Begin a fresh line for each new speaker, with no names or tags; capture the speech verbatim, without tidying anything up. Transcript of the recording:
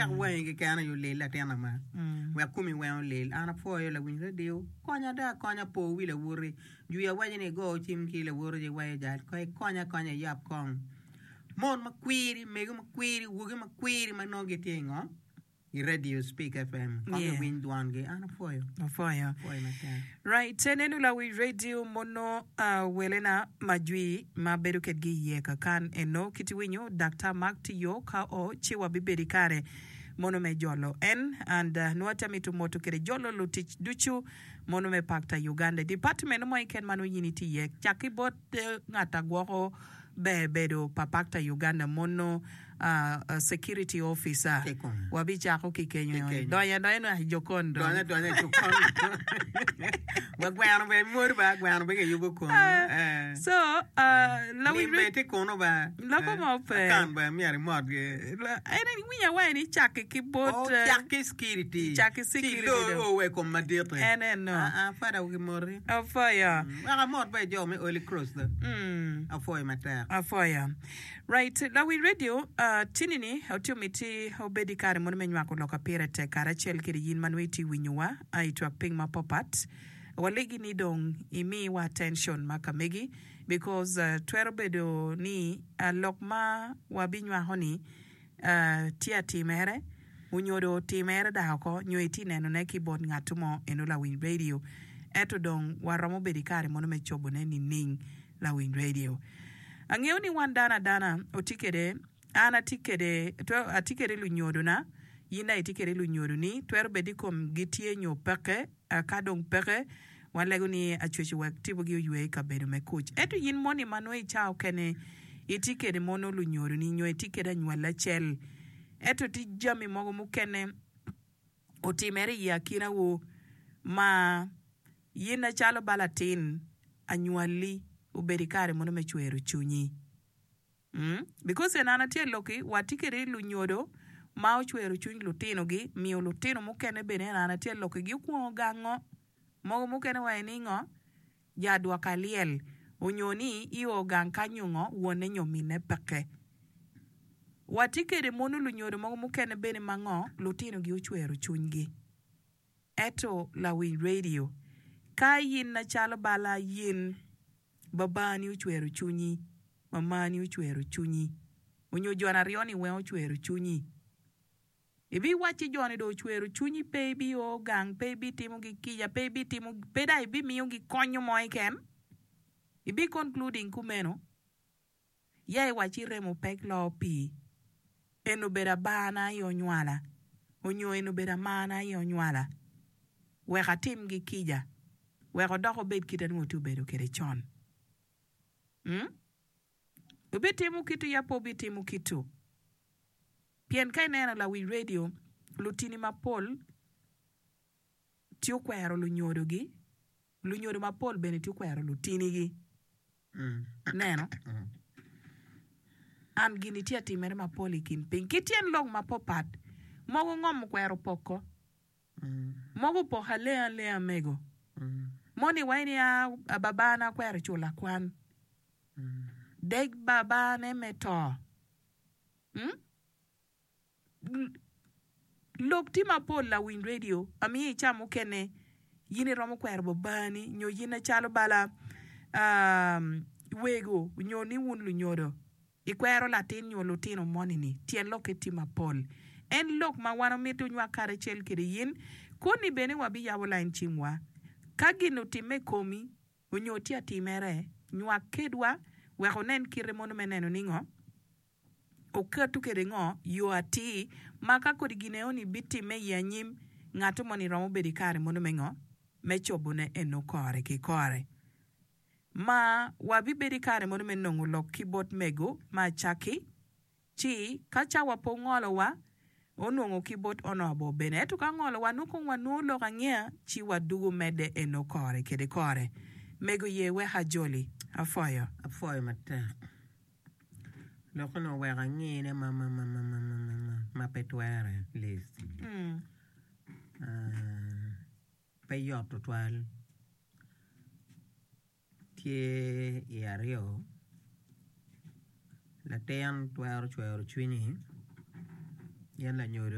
Wek wangi keken aye olil latin ama. Wek komi weng olil. An apwoyo lawiny radio. Konya do akonya po wi lawoti. Jwi awaco ni igo cim ki lawoti ci iwaco jal ko ikonya akonya iyab kong. Mon makwiri, mego makwiri, wogi makwiri ma nongo gitye i ngo? I radio Speak F M. Kong
Yeah.
iwiny dwangi. An apwoyo.
Apwoyo.
Apwoyo matek.
Right, enenu lawi radio mono uh, welena majwi ma bedo kedgi iye kakan eno kit iwinyo Daktar Mark tiyo ka o ci wabibedo ikare mono me jolo en and uh, nwo atye amito moto kede jolo lutic ducu mono me Pakta Uganda i department mo keken ma nongo in itye iye cak ki bot uh, ngat agwoko ber bedo pa Pakta Uganda mono uh, uh, security officer.
Kikome.
Wabicako ki kenyo.
Ki kenyo.
Donyo adonya no jokon dong.
Donyo adonya i jokon. Wa gweno bene mwod ba, gweno bene kiyubo kunu.
Eh,
Eh.
so uh, lawi
Lim bene tye kunu ba.
Loko
Eh,
mo pe.
Akan bene myero imotgi.
La- en iwinyo awaci ni cakki ki bot
Oh,
eh,
cak ki security.
Cak ki
Ci
security
ilor
dong.
o wa i kom madit-ti.
En eno.
Ah, ah, fada gimoti.
Apwoyo.
Mm, Wek amot ba jo me Holy Cross do.
Mm.
Apwoyo matek.
Apwoyo. Right, lawi radio uh, tinini otio miti obed i kare mono me nywako lok apire tek karacel kede yin ma nongo itye winyowa uh, i twak piny mapapat. Walegi ni dong imiwa attention ma kamegi because uh, twero bedo ni uh, lok ma wabinywako ni uh, tye atimere onyodo otimere dako oko nyo itye nenone ki bot ngat mo eno lawiny radio ento dong waromo bedo i kare mono me cobone nining lawiny radio. Angeo ni wan dano adana otye kede an atye kede twero atye kede lunyodona yin dong itye kede lunyodoni twero bedo i komgi tye nyo peke uh, ka dong peke walego ni acweci wek tibogi oywe i kabedo me kuc ento yin moni ma nongo i cawa okene itye kede mono lunyodoni nyo itye kede anywalli acel ento tye jami mogo mukene otimere i akinawu ma yin acalo ba latin anywalli obedo i kare mono me cwero cwinyi. Mm? Because en an atye loki watye kede lunyodo ma ocwero cwiny lutinogi miyo lutino mukene bene en an atye loki gi okwongo gango mogo mukene waco ni ngo ja dwoka lyel onyo ni i o gang kanyo ngo wonne nyo minne peke. Watye kede mono lunyodo mogo mukene bene ma ngo lutinogi ocwero cwinygi. Eto lawiny radio ka yin acalo bala yin babani ocwero cwinyi mamani ocwero cwinyi onyo jon aryo ni weng ocwero cwinyi ibiwacci joni dong ocwero cwinyi pe ibio gang pe ibitimogi kica pe ibitimo pe dong ibimiyogi konyo mo keken ibi concluding kumeno ya iwacci remo pek loo pii en obedo abana aye onywala onyo en obedo amana aye onywala wek atimgi kica wek odok obed kite nongo tye obedo kede con. Mm? Obitimo kitu ya pe obitimo kitu pien ka ineno lawi radio lutini mapol tye okwero lunyodogi lunyodo mapol bene tye okwero lutinigi
Mm.
neno
Mm.
an gini tye atimere mapol i kin piny ki tyen lok mapapat mogo ngom okwero poko
Mm.
mogo opoko alenga alenga mego
Mm.
moni waci ni a babana okwero cula kwan
Mm.
deg babane me to mm? Lok tye mapol lawiny radio amiyo i ca mukene yin iromo kwero babani nyo yin acalo bala um, wego nyo ni wun lunyodo ikwero latin nyo lutino moni-ni tyen lokke tye mapol en lok ma wan omito nywak karacel kede yin koni bene wabiyabo line cimwa ka gin otimme i komi onyo tye atimere nywak kedwa wek onen kite mono me neno ni ngo oketo kede ngo yo atir ma ka kodi gin eno ni bitimme i anyim ngato moni romo bedo i kare mono me ngo me cobone eno kore ki kore ma wabibedo i kare mono me nongo lok ki bot mego ma acaki ci ka cawa pe ongolowa onongo ki bot honorable bene ento ka ngolowa nongo kong wanongo lok angea ci wadugo medde eno kore kede kore mego ye wek ajoli apwoyo.
Apwoyo matek. Lok ni oweko angine ma ma ma ma ma ma ma ma ma pe twere Liz.
Mm.
Ah, pe yot tutwal. Tye i aryo latin twero cwero cwinyi gin lanyodo.